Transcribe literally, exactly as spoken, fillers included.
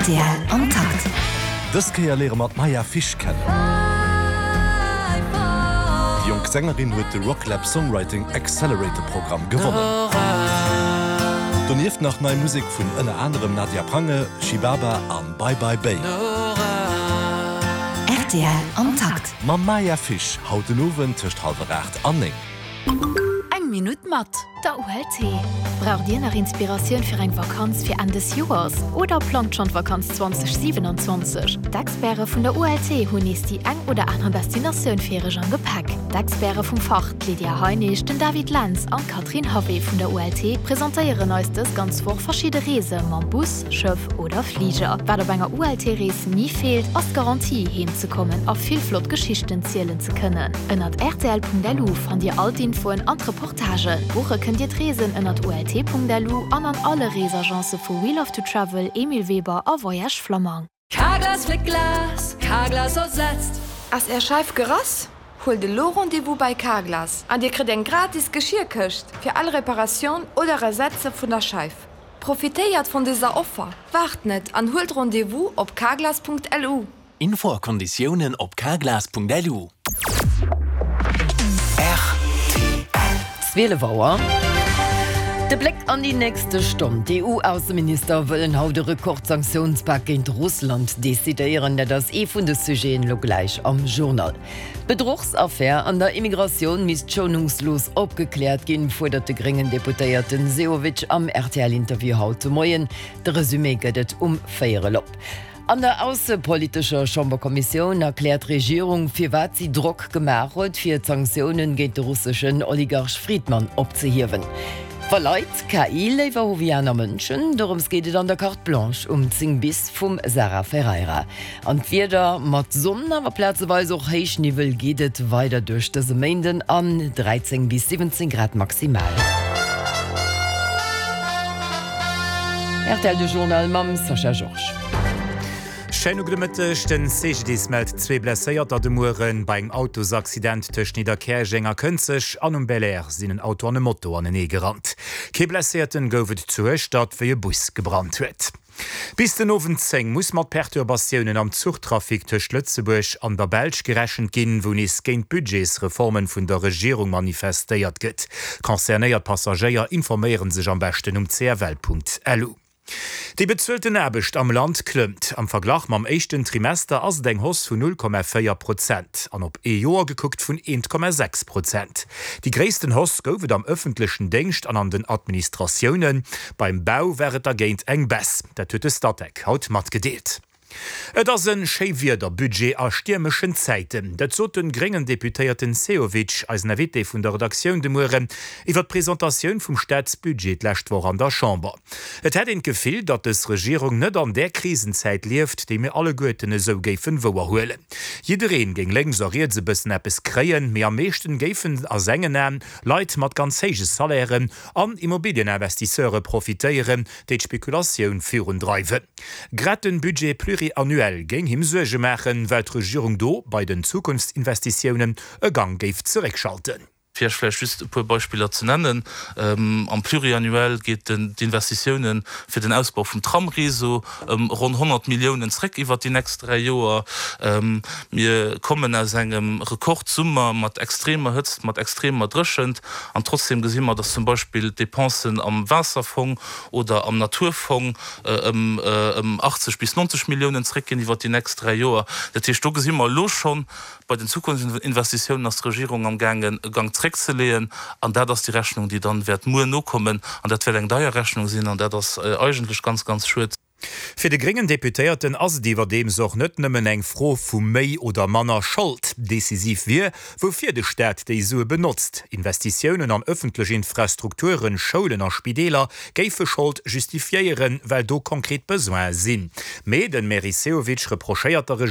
Rtl am Takt. Dës Kéier léiere mer d'Maya Fish kennen. Déi jonk Sängerin huet de Rocklab Songwriting Accelerator Programm gewonnen. Donieft nach nei Musek vun ënner anerem Nadia Prange, Shibaba an Bye Bye Bay. Rtl am Takt. Mam Maya Fish haut den Owend tëscht hallwer aacht an néng. Eng Minutt mat der U L T. Braucht Dir nach Inspiratioun fir eng Vakanz fir Enn des Joers oder plangt schonn d'Vakanz zweedausendsiwenaanzwanzeg? D'Experte vun der U L T hunn nees déi eng oder aner Destinatioun fir Iech am Gepäck. D'Experte vum Fach, d'Lydia Heinig, den David Lenz an d'Katrin Harvey vun der U L T presentéieren eis dës ganz Woch verschidde Reese mam Bus, Schëff oder Fliger. Wat op enger U L T-Rees ni feelt, ass d'Garantie heem ze kommen a vill flott Geschichten zielen ze kënnen. Ënnert R T L Punkt L U fannt Dir all d'Infoen an d'Reportagen. Buche kënnt Dir d'Reesen ënnert U L T Punkt L U an an alle Reesagence vu We Love to Travel, Emile Weber a Voyage Flammang. Carglass fléckt Glas, Carglass ersetzt. Ass Är Scheif gerass? Huelt elo Rendez-vous bei Carglass an Dir kritt eng gratis Geschierkëscht fir all Reparatioun oder Ersetze vun der Scheif. Profitéiert vun dëser Offer. Waart net an huelt Rendez-vous op carglass Punkt L U. Info a Konditiounen op carglass Punkt L U. zwielef Auer. De Bléck an déi nächste Stonn. D' E U-Ausseminister wëllen haut de Rekordsanktiounspak géint Russland decidéieren. Dat ass ee vun de Sujeten lo gläich am Journal. D'Bedruchsaffär an der Immigratioun misst schounungslos opgekläert ginn, fuerdert de gréngen Deputéierten Sehovic am R T L-Interview haut de Moien. De Resumé gëtt et um véierel op. An der aussepolitescher Chamberkommissioun erkläert d'Regierung, firwat si Drock gemaach huet, fir d'Sanktiounen géint de russeschen Oligarch Fridman opzehiewen. Wa Leit K I léiwer hu wéi aner Mënschen, dorëms geet et an der Carte Blanche um zéng bis vum Sarah Ferreira. An d'Wieder mat Sonn, awer plazeweis och Héichniwwel geet et weider duerch dëse Méinden an dräizéng bis siwwenzéng Grad maximal. R T L de Journal mam Sascha Georges. Schéine gudde Mëtteg. Den C G D I S mellt zwee Blesséierter de Mueren bei engem Autosaccident tëscht Nidderkäerjeng a Kënzeg an um Belair sinn en Auto an e Moto anenee gerannt. Kee Blesséierten gouf et zu Hueschtert, wéi e Bus gebrannt huet. Bis den Owend zéng muss mat Perturbatiounen am Zuchtrafic tëscht Lëtzebuerg an der Belsch gerechent ginn, wou nees géint d'Budgetsreformen vun der Regierung manifestéiert gëtt. Concernéiert Passagéier informéiere sech am beschten um C F L Punkt L U. Déi bezuelten Aarbecht am Land klëmmt. Am Verglach mam éischten Trimester ass et eng Hausse vun null Komma véier Prozent an op ee Joer gekuckt vun eent Komma sechs Prozent. Déi gréissten Hausse gouf et am ëffentlechen Déngscht an an den Administratiounen. Beim Bau war et dergéint eng Baisse. Dat huet de Statec haut matgedeelt. Et ass e Schéiwiederbudget a stiermeschen Zäiten. Dat sot de gréngen Deputéierten Sehovic, eisen Invité vun der Redaktioun de Mueren, iwwer d'Presentatioun vum Staatsbudget d'lescht Woch an der Chamber. Et hätt een d'Gefill, datt dës Regierung net an där Krisenzäit lieft, déi mir alleguerten esou géifen wouerhuelen. Jiddereen géing lénks a riets e bëssen eppes kréien, mee am meeschten géifen a sengen Aen Leit mat ganz héije Salairen an Immobilieninvestisseure profitéieren, déi d'Spekulatioun virundreiwen. Grad de Budget pluriannuel géing him Suerge maachen, well d'Regierung do bei den Zukunftsinvestitiounen e Gang géif zeréckschalten. Fir vläicht just e puer Beispiller ze nennen: Am Pluriannuel geet den d'Investitiounen fir den Ausbau vum Tramréseau ëm ronn honnert Milliounen zréck iwwer déi nächst dräi Joer. Mir kommen aus engem Rekordsummer mat extremer Hëtzt, mat extremer Dréchent, an trotzdem gesi mer, datt zum Beispill d'Depensen am Waasserfong oder am Naturfong ëm ëm achtzeg bis nonzeg Milliounen zréckginn iwwer déi nächst dräi Joer. Dat heescht, do gesi mer elo schonn, bei den Zukunftsinvestitiounen ass d'Regierung amgaangen, e Gang zréckzeleeën, an dat ass déi Rechnung, déi dann wäert muer nokommen, an dat wäert eng deier Rechnung sinn, an dat ass eigentlech ganz, ganz schued. Fir de gréngen Deputéierten ass et iwwerdeems och net nëmmen eng Fro vu méi oder manner Schold. Decisiv wier, woufir de Staat déi Sue benotzt. Investitiounen an ëffentlech Infrastrukturen, Schoulen a Spideeler géife Schold justifiéieren, well do konkret Besoine sinn. Mee de Meris Sehovic reprochéiert der